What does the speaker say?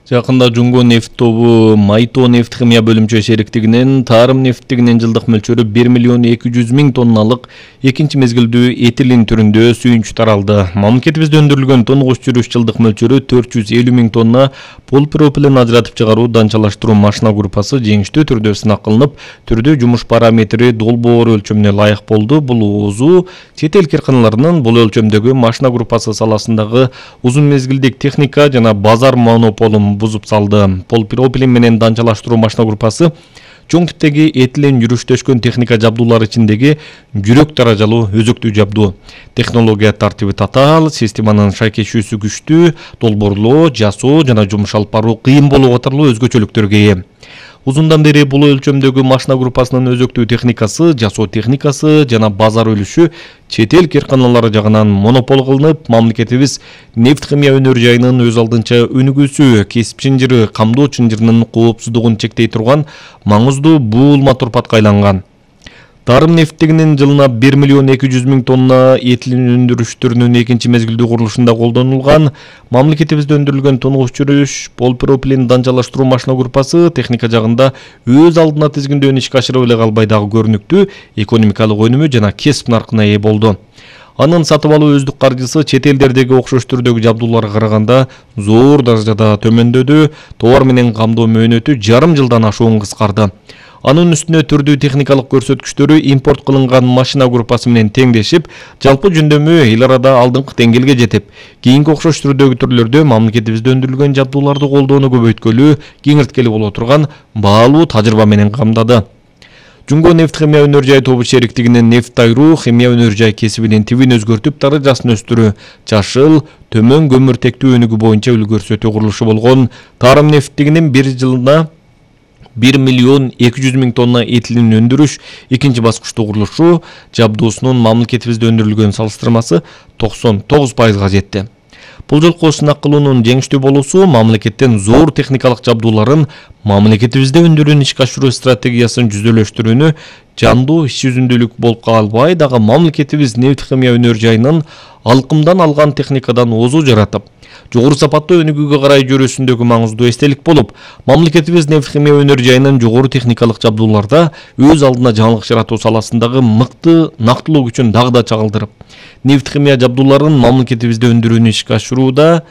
Жакында Жумго нефт тобу Майто нефт химия бөлүмчө шериктигинен тарым нефтигинин жылдык мөлчөрү 1 миллион 200 миң тонналык экинчи мезгилдүү этилин түрүндө сүйүнч таралды. Мамлекетибизде өндүрүлгөн тонгуч жүрүш жылдык мөлчөрү 450 миң тонна полипропилен ажыратып чыгаруу данчалаштыруу машина группасы жеңиштүү түрдө сынак кылынып, түрдүү жумуш параметри долбоор өлчөмүнө ылайык болду. Бул ООЗу чет эл кыркыналарынын бул өлчөмдөгү машина группасы саласындагы узун мезгилдик техника жана базар монополун бузуп салды. Полипропилен менен данчалаштыруу машина группасы чоң типтеги этилен жүрүштөшкөн техника жабдуулары ичиндеги жүрөк даражалуу өзөктүү жабдуу. Технология тартиби татаал, системанын шайкешүүсү күчтүү, долбоорлоо, жасоо жана жумуш алып баруу кыйын болуу катарлуу өзгөчөлүктөргө ээ. Узундан бери бул өлчөмдөгү машина группасынын өзөктүү техникасы, жасоо техникасы жана базар үлүшү чет эл кыркыналары жагынан монопол кылынып, мамлекетибиз нефт химия өнөр жайынын өз алдынча өнүгүүсү, кесип чынжыры, камдоо чынжырынын коопсуздугун чектей турган маңыздуу буулма турпатка айланган. Тарым нефтигинин жылына 1 миллион 200 миң тонна этилин өндүрүштөрүнүн экинчи мезгилдүү курулушунда колдонулган мамлекетибизде өндүрүлгөн тонгуч жүрүш полипропилен данчалаштыруу машина группасы техника жагында өз алдына тизгиндөөдөн ишке ашырып эле калбай дагы көрүнүктүү экономикалык өнүмү жана кесип наркына ээ болду. Анын сатып алуу өздүк каржысы чет элдердеги окшош түрдөгү жабдууларга караганда зор даражада төмөндөдү, товар менен камдоо мөөнөтү жарым жылдан ашуун кыскарды. Анын үстүнө түрдүү техникалык көрсөткүчтөрү импорт кылынган машина группасы менен теңдешип, жалпы жөндөмү эл арада алдыңкы деңгээлге жетип, кийинки окшош түрдөгү түрлөрдө мамлекетибизде өндүрүлгөн жабдууларды колдоону көбөйткөлү, кеңирткели боло турган баалуу тажрыйба менен камдады. Жумго нефт химия өнөр жай тобу шериктигинин нефт айруу химия өнөр жай кесибинин тибин өзгөртүп, даражасын өстүрүү, жашыл, төмөн көмүртектүү өнүгүү боюнча үлгү көрсөтүү курулушу болгон тарым нефтигинин bir жылына 1 миллион 200 миң тонна этилин өндүрүш экинчи баскычтуу курулушу жабдуусунун мамлекетибизде өндүрүлгөн салыштырмасы 99%га жетти. Бул жолку сынак кылуунун жеңиштүү болуусу мамлекеттен зор техникалык жабдууларын мамлекетибизде өндүрүүнү ишке ашыруу стратегиясын жүзөлөштүрүүнү жандуу иш жүзүндүүлүк болуп калбай дагы мамлекетибиз нефт химия өнөр жайынын алкымдан алган техникадан озу жаратып, жогору сапаттуу өнүгүүгө карай жүрүүсүндөгү маңыздуу эстелик болуп, мамлекетибиз нефт химия өнөр жайынын жогору техникалык жабдууларда өз алдына жаңылык жаратуу саласындагы мыкты нактылуу күчүн дагы да чагылдырып, нефт химия жабдууларын мамлекетибизде өндүрүүнү ишке ашырууда